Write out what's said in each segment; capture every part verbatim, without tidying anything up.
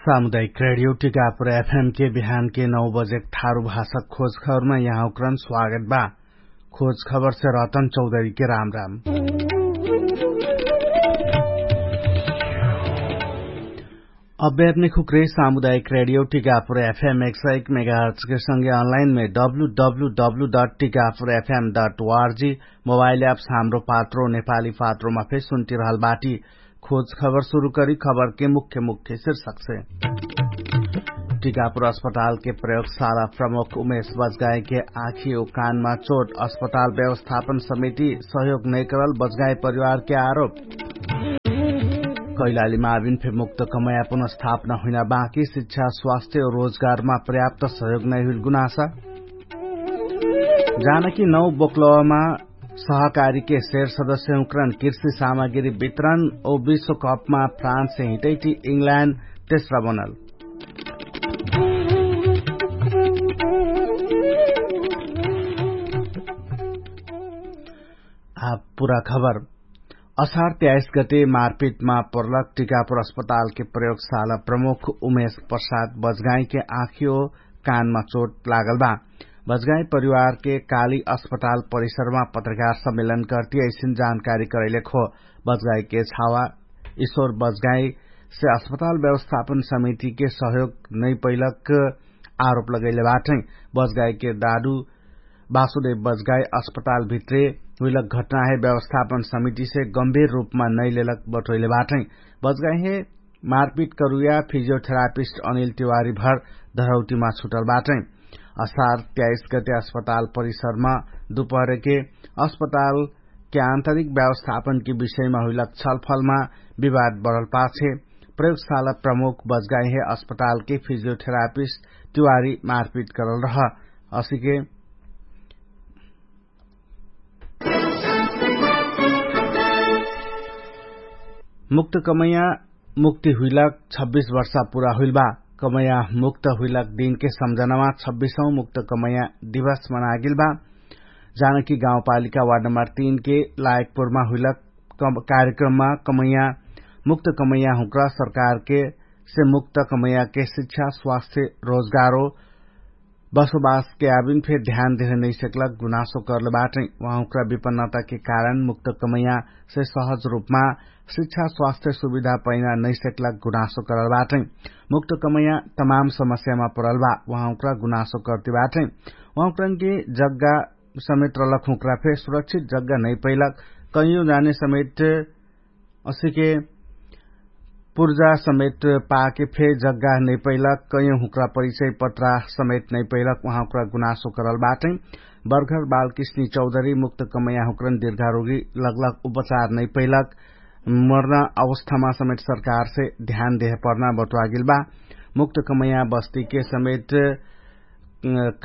सामुदायिक रेडियो टिकापुर एफएम के बिहान के नौ बजेक थारु भाषा खोज खबरमा यहाँ उक्रन स्वागत बा। खोज खबर से रतन चौधरी के राम राम। अब्यात्मिक हुक्रे सामुदायिक रेडियो टिकापुर एफएम एक सय एक मेगाहर्च के संगे अनलाइन मे W W W dot Tikapur FM dot ORG mobile apps Hamro Patro नेपाली पात्रोमा फेर सुन्तिरहल बाटी। खोज खबर सुरु करी खबर के मुख्य मुख्य शीर्षक से। टिकापुर अस्पताल के प्रयोगशाला प्रमुख उमेश बजगाई के आँखी उ कानमा चोट अस्पताल व्यवस्थापन समिति सहयोग नैकरल बजगाई परिवार के आरोप। कैलाली माविन फे मुक्त कमया पुनर्स्थापना हुइना बाँकी शिक्षा स्वास्थ्य रोजगारमा पर्याप्त सहयोग नैहुइल गुनासा। जानकी नौ बोक्लमा सहकारीके शेर सदस्य हुँक्रन कृषि सामग्री वितरण ओ विश्वकपमा फ्रान्ससे हिटैटी इंग्ल्याण्ड तेस्रा बनल। आ पुरा खबर। असार त्याइस गते मारपिटमा पर्लक टिकापुर अस्पतालके प्रयोगशाला प्रमुख उमेश प्रसाद बजगाईके आँखियो कानमा चोट लागल बा। बजगाई परिवारके काली अस्पताल परिसरमा पत्रकार सम्मेलन कर्ति ऐसिन जानकारी करैलेक हो। बजगाईके छावा ईश्वर बजगाईसे अस्पताल व्यवस्थापन समितिके सहयोग नैपैलक आरोप लगैले बाटै। बजगाईके दादु बासुदेव बजगाई अस्पताल भित्रे हुइलक घटनाहे व्यवस्थापन समितिसे गम्भीर रूपमा नैलेलक बटोइले बाटै। बजगाईहे मारपिट करुया फिजियोथेरापिस्ट अनिल तिवारी भर धरौटीमा छुटल बाटै। असार त्याइस गते अस्पताल परिसरमा दुपहरके अस्पतालके आन्तरिक व्यवस्थापनके विषयमा हुइलक छलफलमा विवाद बढल पाछे प्रयोगशाला प्रमुख बजगाइहे अस्पतालके फिजियोथेरापिस्ट तिवारी मारपिट करल रह। असिके मुक्त कमैया मुक्ति हुइलक छब्बिस वर्षा पुरा हुइल बा। कमैया मुक्त हुइलक दिनके सम्झनामा छब्बिसौँ मुक्त कमैया दिवस मनागेल बा। जानकी गाउँपालिका वार्ड नम्बर तीनके लायकपुरमा हुइलक कार्यक्रममा कमैया मुक्त कमैया हुँक्रा सरकारके से मुक्त कमैयाके शिक्षा स्वास्थ्य रोजगारो बसोबासके आबिन फेर ध्यान देहे नैसक्लक गुनासो कर्ल बाटै। उहाँहुँक्रा विपन्नताके कारण मुक्त कमैया से सहज रूपमा शिक्षा स्वास्थ्य सुविधा पैना नैसक्लक गुनासो करल बाटै। मुक्त कमैया तमाम समस्यामा परल बा उहाँहुँक्रा गुनासो कर्ति बाटै। उहाँहुँक्रनके जग्गा समेत रलक हुँक्रा फे सुरक्षित जग्गा नैपैलक कैयो जाने समेत असिके पुर्जा समेत पाके फे जग्गा नैपैलक कैयो हुँक्रा परिचय पत्रा समेत नैपैलक उहाँहुँक्रा गुनासो करल बाटै। बर्घर बालकृष्णी चौधरी मुक्त कमैया हुँक्रन दिर्घारोगी लगलक उपचार नैपैलक मर्ना अवस्थामा समेत सरकारसे ध्यान देह पर्ना बटुवागेल बा। मुक्त कमैया बस्तीके समेत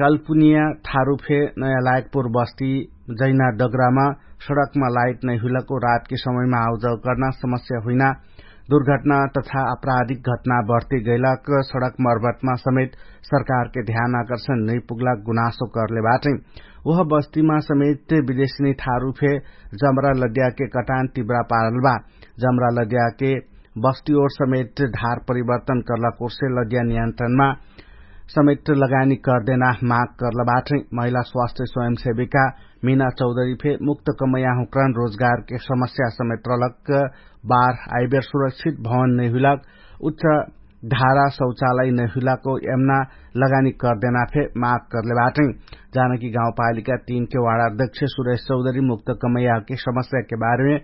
कल्पुनिया थारु फे नयाँ लायकपुर बस्ती जैना डगरामा सडकमा लाइट नैहुइलक ओ रातके समयमा आउजाउ कर्ना समस्या हुइना दुर्घटना तथा अपराधिक घटना बढ्ति गैलक सडक मर्बटमा समेत सरकारके ध्यान आकर्षण नैपुग्लक गुनासो कर्ले बाटै। उह बस्तीमा समेत विदेशनी थारु फे जमरा लद्याके कटान तिब्रा पारल बा। जमरा लद्याके बस्ती ओर समेत धार परिवर्तन कर्ला कोर्से लद्या नियन्त्रणमा समेत लगानी कर्देना माग कर्ला बाटै। महिला स्वास्थ्य स्वयंसेविका मिना चौधरी फे मुक्त कमैया हुँक्रन रोजगारके समस्या समेत रलक बार आइबेर सुरक्षित भवन नैहुइलक उच्च धारा शौचालय नैहुइलक ओ एमना लगानी कर्देना फे माग कर्ले बाटै। जानकी गाउँपालिका तीनके वाडा अध्यक्ष सुरेश चौधरी मुक्त कमैयाके समस्याके बारेमे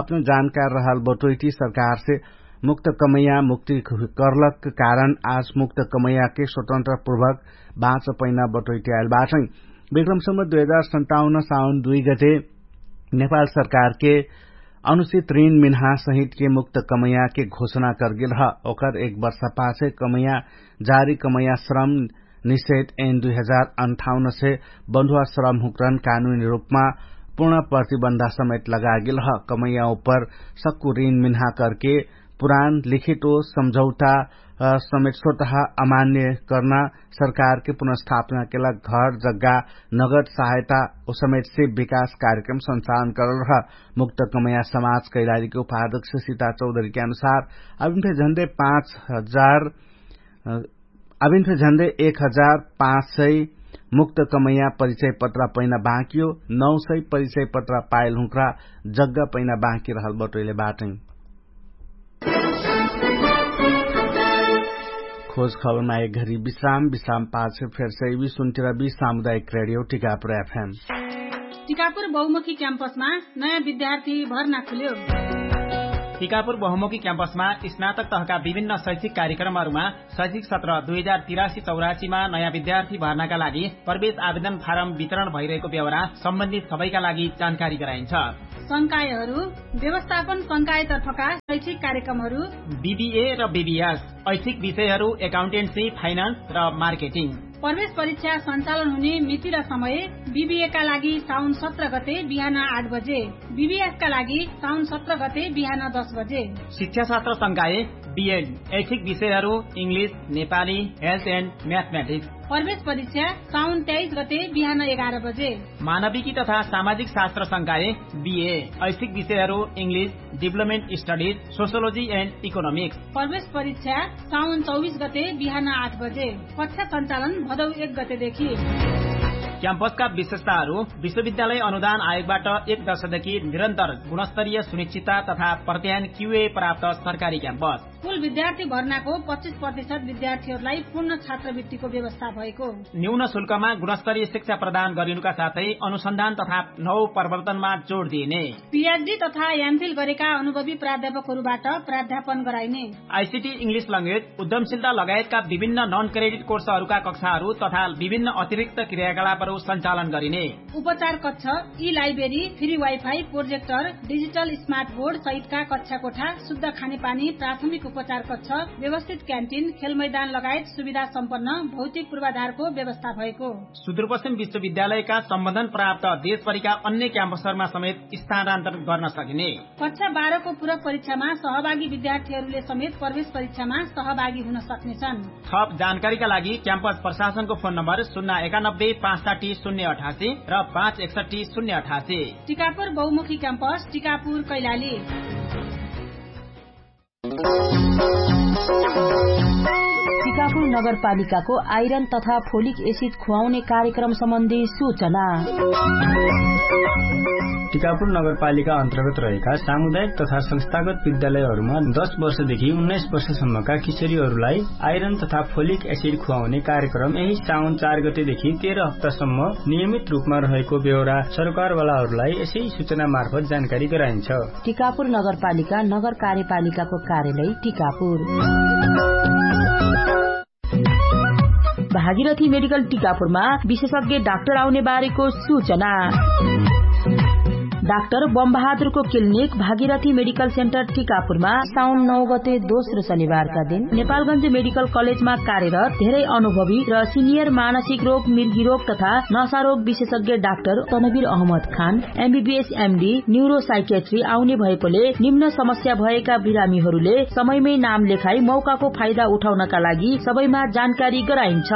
अपना जानकार रहल बटोइटी सरकारसे मुक्त कमैया मुक्ति कर्लक कारण आज मुक्त कमैयाके स्वतन्त्रपूर्वक बाँच पैना बटोइटी आइल बाटै। विक्रमसम्म दुई हजार सन्ताउन्न साउन दुई गते नेपाल सरकारके अनुचित ऋण मिन्हा सहितके मुक्त कमैयाके घोषणा कर्गेल ह। ओकर एक वर्ष पाछे कमैया जारी कमैया श्रम निषेध एन दुई हजार अन्ठाउन्न से बन्धुवा श्रम हुँक्रन कानुनी रूपमा पूर्ण प्रतिबन्धा समेत लगागेल ह। कमैया उपर सक्कु ऋण मिन्हा करके पुरान लिखित ओ सम्झौता समेत स्वतः अमान्य कर्ना सरकारके पुनर्स्थापनाके लाग घर जग्गा नगद सहायता ओ समेत से विकास कार्यक्रम संचालन करल रह। मुक्त कमैया समाज कैलालीके उपाध्यक्ष सीता चौधरीके अनुसार अभिन फे झन्डे पाँच हजार अभिन फे झन्डै एक हजार पाँच सय मुक्त कमैया परिचय पत्रा पैना बाँकियो, नौ सय परिचय पत्रा पाइल हुँक्रा जग्गा पैना बाँकी रहल बटोइले बाटै। खोज खबरमा एक घरी विश्राम विश्राम पाछ फेर सैवी सुन्टिरा बी सामुदायिक रेडियो टिकापुर एफएम। टिकापुर बहुमुखी क्याम्पसमा नयाँ विद्यार्थी भर्ना खुल्यो। टिकापुर बहुमुखी क्याम्पसमा स्नातक तहका विभिन्न शैक्षिक कार्यक्रमहरूमा शैक्षिक सत्र दुई हजार तिरासी चौरासीमा नयाँ विद्यार्थी भर्नाका लागि प्रवेश आवेदन फारम वितरण भइरहेको बेहोरा सम्बन्धित सबैका लागि जानकारी गराइन्छ। संकायहरू व्यवस्थापन संकायतर्फका शैक्षिक कार्यक्रमहरू बिबिए र बिबिएस, ऐच्छिक विषयहरू एकाउन्टेन्सी, फाइनान्स र मार्केटिङ। प्रवेश परीक्षा सञ्चालन हुने मिति र समय बिबिएका लागि साउन सत्र गते बिहान आठ बजे, बिबिएसका लागि साउन सत्र गते बिहान दस बजे। शिक्षाशास्त्र संकाय बिएड, ऐच्छिक विषयहरू इङ्ग्लिस, नेपाली, हेल्थ एन्ड म्याथमेटिक्स। प्रवेश परीक्षा साउन तेइस गते बिहान एघार बजे। मानविकी तथा सामाजिक शास्त्र संकाय बिए, ऐच्छिक विषयहरू इङ्ग्लिस, डिभलपमेन्ट स्टडिज, सोसियोलोजी एन्ड इकोनोमिक्स। प्रवेश परीक्षा साउन चौबिस गते बिहान आठ बजे। कक्षा सञ्चालन भदौ एक गतेदेखि। क्याम्पसका विशेषताहरू विश्वविद्यालय अनुदान आयोगबाट एक दशकदेखि निरन्तर गुणस्तरीय सुनिश्चितता तथा प्रत्यायन क्युए प्राप्त सरकारी क्याम्पस। कुल विद्यार्थी भर्नाको पच्चिस प्रतिशत विद्यार्थीहरूलाई पूर्ण छात्रवृत्तिको व्यवस्था भएको। न्यून शुल्कमा गुणस्तरीय शिक्षा प्रदान गरिनुका साथै अनुसन्धान तथा नौ प्रवर्तनमा जोड दिइने। पिएचडी तथा एमफिल गरेका अनुभवी प्राध्यापकहरूबाट प्राध्यापन गराइने। आइसिटी, इङ्ग्लिस ल्याङ्ग्वेज, उद्यमशीलता लगायतका विभिन्न नन क्रेडिट कोर्सहरूका कक्षाहरू तथा विभिन्न अतिरिक्त क्रियाकलापहरू सञ्चालन गरिने। उपचार कक्ष, ई library, free wifi, projector, digital smart board सहितका कक्षा कोठा, शुद्ध खानेपानी, प्राथमिक उपचार कक्ष, व्यवस्थित क्यान्टिन, खेलमैदान लगायत सुविधा सम्पन्न भौतिक पूर्वाधारको व्यवस्था भएको। सुदूरपश्चिम विश्वविद्यालयका सम्बन्धन प्राप्त देशभरिका अन्य क्याम्पसहरूमा समेत स्थानान्तरण गर्न सकिने। कक्षा बाह्रको पूरक परीक्षामा सहभागी विद्यार्थीहरूले समेत प्रवेश परीक्षामा सहभागी हुन सक्नेछन्। थप जानकारीका लागि क्याम्पस प्रशासनको फोन नम्बर शून्य एकानब्बे पाँच साठी शून्य अठासी र पाँच एकसठी शून्य अठासी। टिकापुर बहुमुखी क्याम्पस, टिकापुर कैलाली। टिकापुर नगरपालिकाको आइरन तथा फोलिक एसिड खुवाउने कार्यक्रम सम्बन्धी सूचना। टिकापुर नगरपालिका अन्तर्गत रहेका सामुदायिक तथा संस्थागत विद्यालयहरूमा दस वर्षदेखि उन्नाइस वर्षसम्मका किशोरीहरूलाई आइरन तथा फोलिक एसिड खुवाउने कार्यक्रम यही साउन चार गतेदेखि तेह्र हप्तासम्म नियमित रूपमा रहेको बेहोरा सरकारवालाहरूलाई यसै सूचना मार्फत जानकारी गराइन्छ। टिकापुर नगरपालिका नगर कार्यपालिकाको कार्यालय टिकापुर। भागीरथी मेडिकल टिकापुरमा विशेषज्ञ डाक्टर आउने बारेको सूचना। डाक्टर बमबहादुरको क्लिनिक भागीरथी मेडिकल सेन्टर टिकापुरमा साउन नौ गते दोस्रो शनिबारका दिन नेपालगञ्ज मेडिकल कलेजमा कार्यरत धेरै अनुभवी र सिनियर मानसिक रोग, मिर्गी रोग तथा नशा रोग विशेषज्ञ डाक्टर तनवीर अहमद खान एमबीबीएस एमडी न्युरोसाइकेट्री आउने भएकोले निम्न समस्या भएका बिरामीहरूले समयमै नाम लेखाई मौकाको फाइदा उठाउनका लागि सबैमा जानकारी गराइन्छ।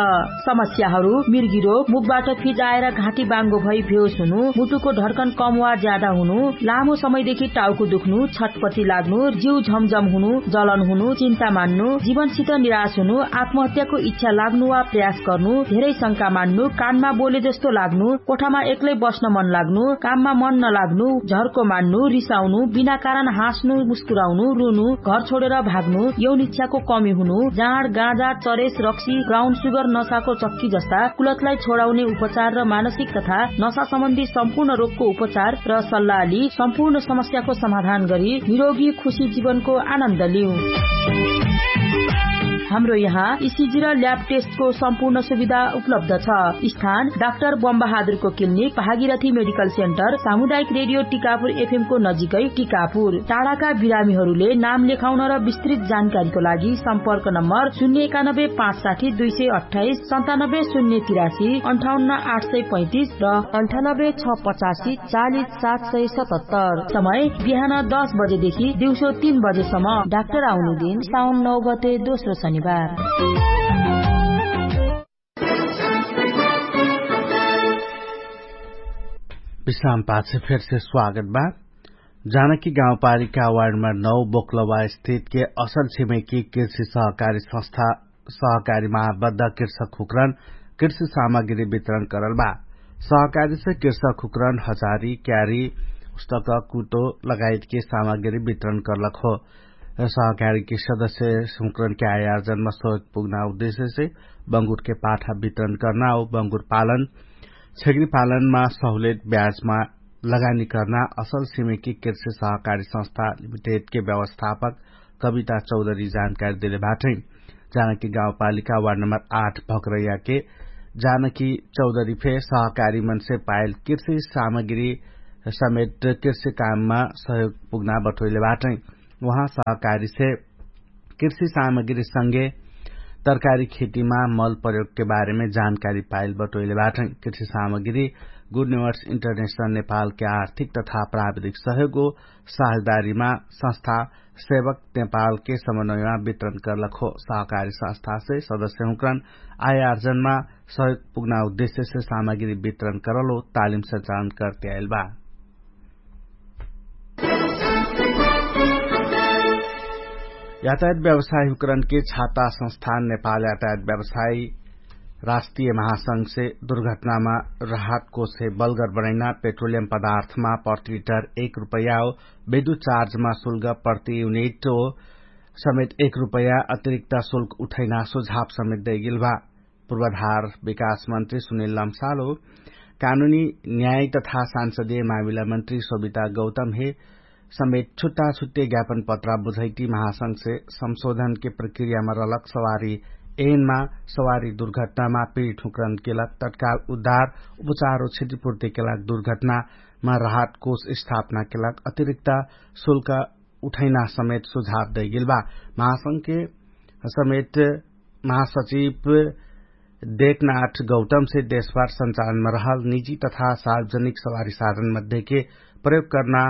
समस्याहरू मिर्गी रोग, मुखबाट फिजाएर घाँटी बाङ्गो भई भेउस हुनु, मुटुको ढड्कन कम वा ज्यादा हुनु, लामो समयदेखि टाउको दुख्नु, छटपटी लाग्नु, जिउ झमझम हुनु, जलन हुनु, चिन्ता मान्नु, जीवनसित निराश हुनु, आत्महत्याको इच्छा लाग्नु वा प्रयास गर्नु, धेरै शंका मान्नु, कानमा बोले जस्तो लाग्नु, कोठामा एक्लै बस्न मन लाग्नु, काममा मन नलाग्नु, झर्को मान्नु, रिसाउनु, बिना कारण हाँस्नु, मुस्कुराउनु, रुनु, घर छोडेर भाग्नु, यौन इच्छाको कमी हुनु, जाँड, गाँजा, चरेस, रक्सी, ब्राउन सुगर, नशाको चक्की जस्ता कुलतलाई छोडाउने उपचार र मानसिक तथा नशा सम्बन्धी सम्पूर्ण रोगको उपचार र सल्लाहली सम्पूर्ण समस्याको समाधान गरी निरोगी खुशी जीवनको आनन्द लिउ। हाम्रो यहाँ इसिजी र ल्याब टेस्टको सम्पूर्ण सुविधा उपलब्ध छ। स्थान डाक्टर बमबहादुरको क्लिनिक, भागीरथी मेडिकल सेन्टर, सामुदायिक रेडियो टिकापुर एफएमको नजिकै टिकापुर। टाढाका बिरामीहरूले नाम लेखाउन र विस्तृत जानकारीको लागि सम्पर्क नम्बर शून्य एकानब्बे पाँच साठी दुई सय अट्ठाइस, सन्तानब्बे शून्य तिरासी, अन्ठाउन्न आठ सय पैँतिस र अन्ठानब्बे छ पचासी चालिस सात सय सतहत्तर। समय बिहान दस बजेदेखि दिउँसो तीन बजेसम्म। डाक्टर आउने दिन साउन नौ गते दोस्रो शनिबार। विश्राम पाछ फेरसे स्वागत बा। जानकी गाउँपालिका वार्ड नम्बर नौ बोक्लवा स्थित के असल छिमेकी कृषि सहकारी संस्था सहकारी महाबद्ध कृषक हुक्रन कृषि सामग्री वितरण करल बा। सहकारी से कृषक हुक्रन हजारी क्यारी पुस्तक कुटो लगायतके सामग्री वितरण करलक हो। सहकारी के सदस्य हुक्रन के आयार्जनमा सहयोग पुग्ना उद्देश्य से बंगुर के पाठा वितरण करना हो बंगुर पालन छेगरी पालनमा सहुलेट ब्याजमा लगानी कर्ना असल सिमेकी कृषि सहकारी संस्था लिमिटेडके व्यवस्थापक कविता चौधरी जानकारी देले बाटै। जानकी गाउँपालिका वार्ड नम्बर आठ भक्रैयाके जानकी चौधरी फे सहकारी मनसे पाइल कृषि सामग्री समेट कृषि काममा सहयोग पुग्ना बटोइले बाटै। उहाँ सहकारी से कृषि सामग्री संगे तरकारी खेतीमा मल प्रयोगके बारेमे जानकारी पाइल बटोइले बाटै। कृषि सामग्री गुड नेवर्स इन्टरनेशनल नेपालके आर्थिक तथा प्राविधिक सहयोग हो साझेदारीमा संस्था सेवक नेपालके समन्वयमा वितरण करलक हो। सहकारी संस्था से सदस्य हुक्रन आयार्जनमा सहयोग पुग्ना उद्देश्य से सामग्री वितरण करल हो तालिम संचालन करते आइल बा। यातायात व्यवसायी हुक्रन के छाता संस्थान नेपाल यातायात व्यवसायी राष्ट्रिय महासंघ से दुर्घटनामा राहत कोष से बलगर बनैना पेट्रोलियम पदार्थमा प्रति लिटर एक रुपैया हो विद्युत चार्जमा शुल्क प्रति युनिट हो समेत एक रुपैया अतिरिक्त शुल्क उठैना सुझाव समेत दैगेल भा। पूर्वाधार विकास मन्त्री सुनिल लम्सालो कानुनी न्याय तथा सांसदीय मामिला मन्त्री सोभिता गौतम हे समेत छुट्टा छुट्टे ज्ञापन पत्रा बुझैटी महासंघ से संशोधन के प्रक्रियामा रहलक सवारी एनमा सवारी दुर्घटनामा पीडित हुक्रन केलक तत्काल उद्धार उपचार हो क्षतिपूर्ति केलक दुर्घटनामा राहत कोष स्थापना केलक अतिरिक्त शुल्क उठैना समेत सुझाव दैगेल बा। महासंघ के समेत महासचिव देखनाथ गौतम से देशभर संचालनमा रहल निजी तथा सार्वजनिक सवारी साधन मध्येके प्रयोग कर्ना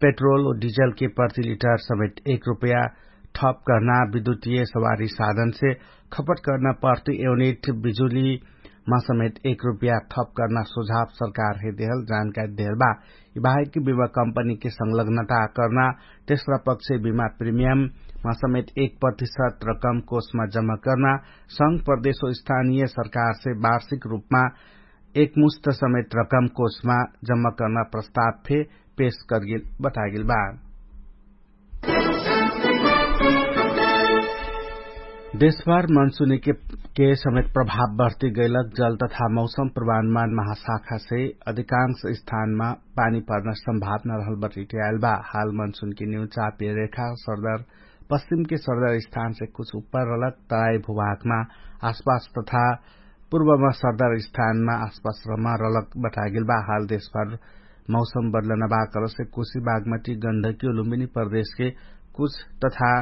पेट्रोल और डिजलके प्रति लिटर समेत एक रुपैया ठप कर्ना विद्युतीय सवारी साधन से खपट कर्ना प्रति एवनिट बिजुलीमा समेत एक रुपैया ठप कर्ना सुझाव सरकार हे देहल जानकारी देहल बा। यि बाहेक बिमा कम्पनीके संलग्नता कर्ना तेस्रा पक्ष बिमा प्रिमियममा समेत एक प्रतिशत रकम कोषमा जम्मा कर्ना संघ प्रदेश हो स्थानीय सरकारसे वार्षिक रूपमा एकमुष्ट समेत रकम कोषमा जम्मा कर्ना प्रस्ताव फे पेश करगेल बतागेल बा। देशभर मनसुनीके के समेत प्रभाव बढ्ती गैलक जल तथा मौसम प्रमाणमान महाशाखासे अधिकांश स्थानमा पानी पर्न सम्भावना रहल बटैटियाल बा। हाल मनसुनके न्यू चापिय रेखा सरदर पश्चिमके सरदर स्थानसे कुछ उप्पर रहलक तराई भुभागमा आसपास तथा पूर्वमा सरदर स्थानमा आसपास रमा रहलक बटागेल बा। हाल देशभर मौसम बदलना बा कलसे कुशी बागमती गन्धकी और लुम्बिनी प्रदेशके कुछ तथा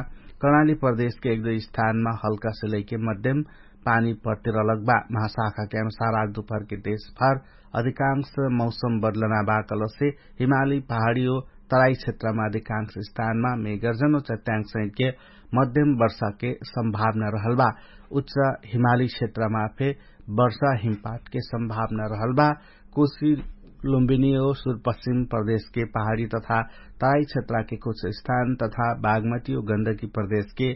कर्णाली प्रदेशके एक दुई स्थानमा हल्कासे लैके मध्यम पानी पर्तिरलक बा। महाशाखाके अनुसार आज दुपहरके देशभर अधिकांश मौसम बदलना बा कलसे हिमाली पहाडी हो तराई क्षेत्रमा अधिकांश स्थानमा मेगर्जन हो चट्याङ्ग सहितके मध्यम वर्षाके सम्भावना रहल बा। उच्च हिमाली क्षेत्रमा फे वर्षा हिमपातके सम्भावना रहल बा। कोशी लुम्बिनी हो सुरपश्चिम प्रदेशके पहाडी तथा तराई क्षेत्रके कुछ स्थान तथा बागमती हो गन्दकी प्रदेशके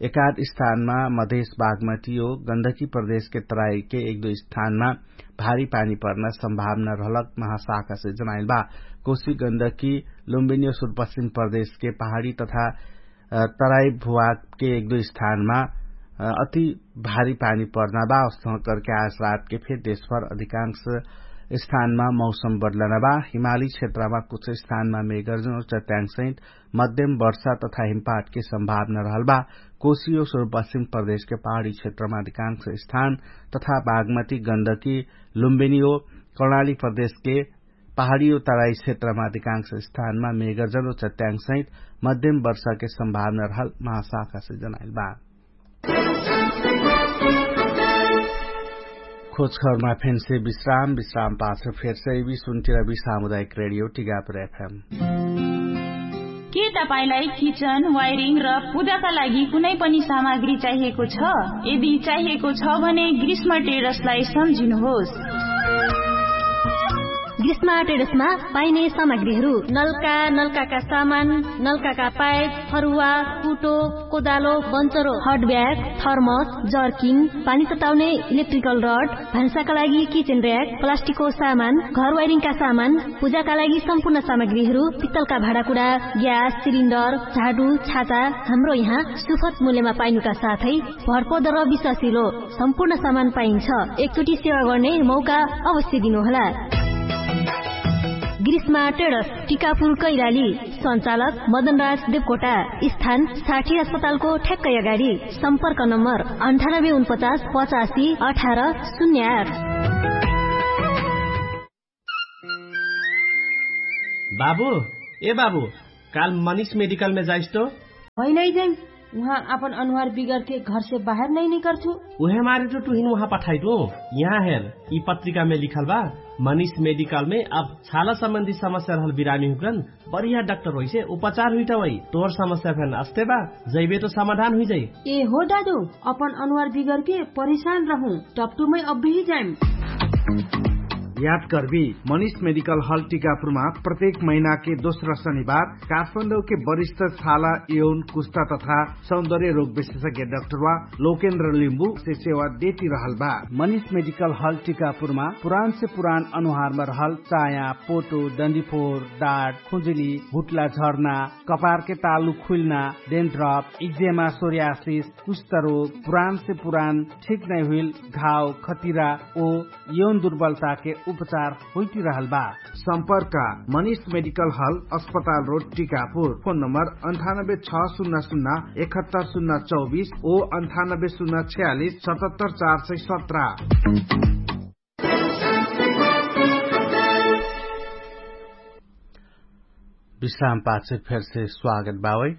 एकाध स्थानमा मधेश बागमती हो गन्दकी प्रदेशके तराईके एक दुई स्थानमा भारी पानी पर्न सम्भावना रहलक महाशाखासे जनाइल बा। कोशी गन्दकी लुम्बिनी हो सुरपश्चिम प्रदेशके पहाडी तथा तराई भुवाके एक दुई स्थानमा अति भारी पानी पर्ना बा। अवस्था करके आज रातके फेर देशभर अधिकांश स्थानमा मौसम बदलना बा। हिमाली क्षेत्रमा कुछ स्थानमा मेगर्जन और चट्याङ्ग सहित मध्यम वर्षा तथा हिमपातके सम्भावना रहल बा। कोशी हो सुरपश्चिम प्रदेशके पहाडी क्षेत्रमा अधिकांश स्थान तथा बागमती गन्दकी लुम्बिनी हो कर्णाली प्रदेशके पहाडी हो तराई क्षेत्रमा अधिकांश स्थानमा मेगर्जन हो चट्याङ्ग सहित मध्यम वर्षाके सम्भावना रहल महाशाखासे जनाइल बा। खोजखबरमा फेन्से विश्राम विश्राम पाछ फेर्सै बि सुन्तिरबि सामुदायिक रेडियो टिगापुर एफएम। के तपाईंलाई किचन वायरिङ र पूजाका लागि कुनै पनि सामग्री चाहिएको छ? यदि चाहिएको छ भने ग्रीष्म टेरसलाई सम्झिनुहोस्। ग्रीष्मा ट्रेडर्समा पाइने सामग्रीहरू नल्का, नल्काका सामान, नल्काका पाइप, फरुवा, कुटो, कोदालो, बन्चरो, हटब्याग, थर्मस, जर्किङ, पानी तताउने इलेक्ट्रिकल रड, भान्साका लागि किचेन र्याक, प्लास्टिकको सामान, घर वाइरिङका सामान, पूजाका लागि सम्पूर्ण सामग्रीहरू, पित्तलका भाँडाकुडा, ग्यास सिलिन्डर, झाडु, छाता, हाम्रो यहाँ सुफत मूल्यमा पाइनुका साथै भरपर्दर विश्वासिलो सम्पूर्ण सामान पाइन्छ। एकचोटि सेवा गर्ने मौका अवश्य दिनुहोला। ग्रीष्मा ट्रेडर्स, टिकापुर कैलाली। सञ्चालक मदनराज देवकोटा। स्थान साठी अस्पतालको ठ्याक्कै अगाडि। सम्पर्क नम्बर अन्ठानब्बे उनपचास पचासी अठार शून्य आठ। बाबु, ए बाबु, काल मनिष मेडिकलमे जाइस तो? होइन है जैन, उहाँ आपन अनुहार बिगरके घरसे बाहेर नै निकर्छु। उहे मारे तो टुहिन उहाँ पठाइटु। यहाँ हेर, यि पत्रिकामे लिखल बा, मनिष मेडिकलमे अब छाला सम्बन्धी समस्या रहल बिरामी हुकरन बढिया डाक्टर होइसे उपचार हुइटा वै। तोहर समस्या फेन अस्ते बा, जैबे तो समाधान हुइजाइ। ए हो दादु, अपन अनुहार बिगरके परिशान रहु, टपटुमै अब्बेही जाइम। याद कर्बी, मनिष मेडिकल हल टिकापुरमा प्रत्येक महिनाके दोस्रा शनिबार काठमाडौके वरिष्ठ छाला यौन कुस्ता तथा सौन्दर्य रोग विशेषज्ञ डाक्टरवा लोकेन्द्र लिम्बुसे सेवा देति रहल बा। मनिष मेडिकल हल टिकापुरमा पुरानसे पुरान अनुहारमा रहल चाया, पोटो, डन्डिफोर, डाट, खुजुली, हुट्ला झर्ना, कपारके तालु खुइल्ना, डेन्ड्रप, इक्जेमा, सोर्यासिस, कुष्ठरोग, पुरानसे पुरान ठिक नै हुइल घाव, खतिरा ओ यौन दुर्बलताके उपचार होइतिरहल बा। सम्पर्क मनिष मेडिकल हल, अस्पताल रोड, टिकापुर। फोन नम्बर अन्ठानब्बे छ सुन्ना सुन्ना एकहत्तर सुन्ना चौबिस ओ अन्ठानब्बे सुन्ना छ्यालिस सतहत्तर चार सय सत्र। विश्राम पाछे फेरसे स्वागत बावै।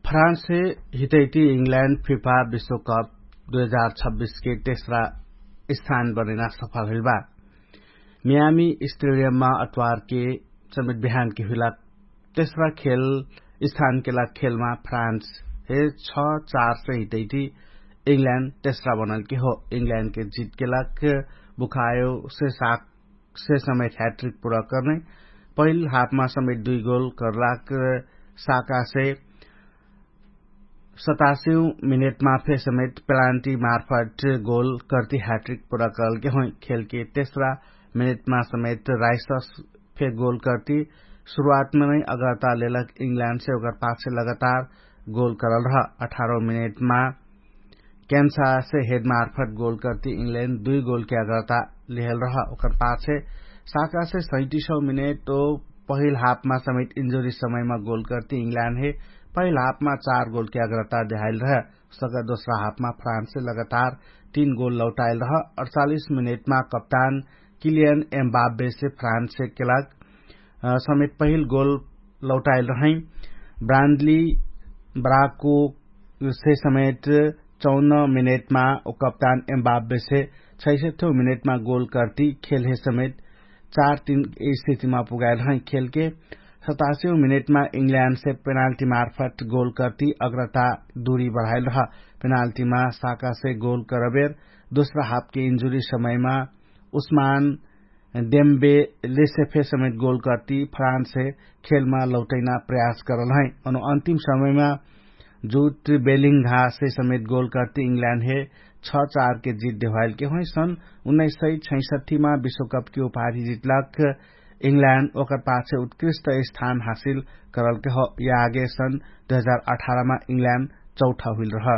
फ्रान्ससे हितैती इङ्ल्यान्ड फिफा विश्वकप दुई हजार छब्बिसके तेस्रा स्थान बनैना सफल हुइल बा। मियामी स्टेडियममा अतवारके समेत बिहानके हुइला तेस्रा खेल स्थानके लाग खेलमा फ्रान्स हे छ चार से हितैती इङ्ल्यान्ड तेस्रा बनलके हो। इङ्ल्यान्डके जितके लाग बुखायो से साक से समेत ह्याट्रिक पुरा कर्ने पहिल हाफमा समेत दुई गोल कर्लाक साकासे सतासिउ मिनेटमा फे समेत पेलान्टी मार्फट गोल कर्ति ह्याट्रिक पुरा कर्लके होइ। खेलके तेस्रा मिनेटमा समेत राइसस फे गोल कर्ति सुरुवातमा नै अगर्ता लेलक इङ्ल्यान्डसे ओकर पाछे लगातार गोल करल रह। अठारौ मिनेटमा क्यान्सासे हेडमार्फट गोल कर्ति इङ्ल्यान्ड दुई गोलके अगर्ता लिहेल रह। ओकर पाछे साकासे सैतिसौ मिनेट ओ पहिल हाफमा समेत इन्जुरी समयमा गोल कर्ति इङ्ल्यान्ड हे पहिल हाफमा चार गोलके अगर्ता देहाइल रह। सका दोस्रा हाफमा फ्रान्ससे लगातार तीन गोल लौटाइल रह। अडचालिस मिनेटमा कप्तान किलियन एम्बाब्बेसे फ्रान्ससे केलाग समेत पहिल गोल लौटाइल रहै। ब्रान्डली ब्राको से समेत चौन्न मिनेटमा ओ कप्तान एम्बाब्बेसे छैसठ्यौ मिनेटमा गोल कर्ति खेलहे समेत चार तीन स्थितिमा पुगाइल रहै। खेलके सतासियौ मिनेटमा इङ्ल्यान्डसे पेनाल्टी मार्फट गोल कर्ति अग्रता दुरी बढाइल रह। पेनाल्टीमा साकासे गोल करबेर दोस्रा हाफके इन्जुरी समयमा उस्मान डेम्बे लेसेफे समेत गोल कर्ति फ्रान्ससे खेलमा लौटैना प्रयास करल है। अनु अन्तिम समयमा जुट बेलिङ्घासे समेत गोल कर्ति इङ्ल्यान्ड हे छ चारके जित देवाइलके होइ। सन् उन्नाइस सय छैसठीमा विश्वकपके उपाधि जितलक इङ्ल्यान्ड ओकर पाछे उत्कृष्ट स्थान हासिल करलके हो। यागे सन् दुई हजार अठारमा इङ्ल्यान्ड चौठा हुइल रह।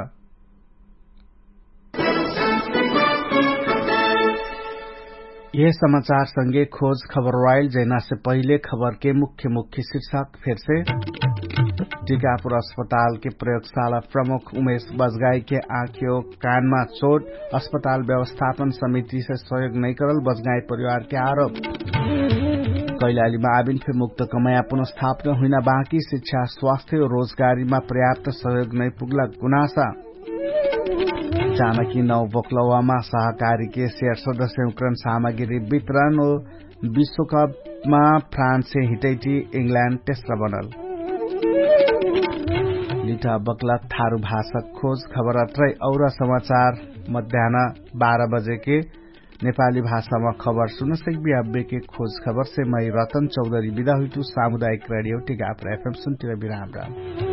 यह समाचार संगे खोज खबर वाइल जैनासे पहिले खबरके मुख्य मुख्य शीर्षक फेरसे। टिकापुर अस्पतालके प्रयोगशाला प्रमुख उमेश बजगाईके आँखियो कानमा चोट, अस्पताल व्यवस्थापन समितिसे सहयोग नैकरल बजगाई परिवारके आरोप। कैलालीमा आबिन फे मुक्त कमया पुनस्थापना हुइना बाँकी शिक्षा स्वास्थ्य रोजगारीमा पर्याप्त सहयोग नैपुग्ला गुनासा। जानकी नौ बोक्लवामा सहकारीके सेयर सदस्य उक्रन सामग्री वितरण ओ विश्वकपमा फ्रान्ससे हिटैटी इङ्ल्यान्ड तेस्रा बनल। लिठा बक्लक थारु भाषक खोज खबरत्रै और समाचार मध्यान बाह्र बजेके नेपाली भाषामा खबर सुनसक्बी अब्बेके खोज खबरसे मै रतन चौधरी बिदा हुइतु। सामुदायिक रेडियो टिकाप र एफएम सुन्तिरा बिराम राम।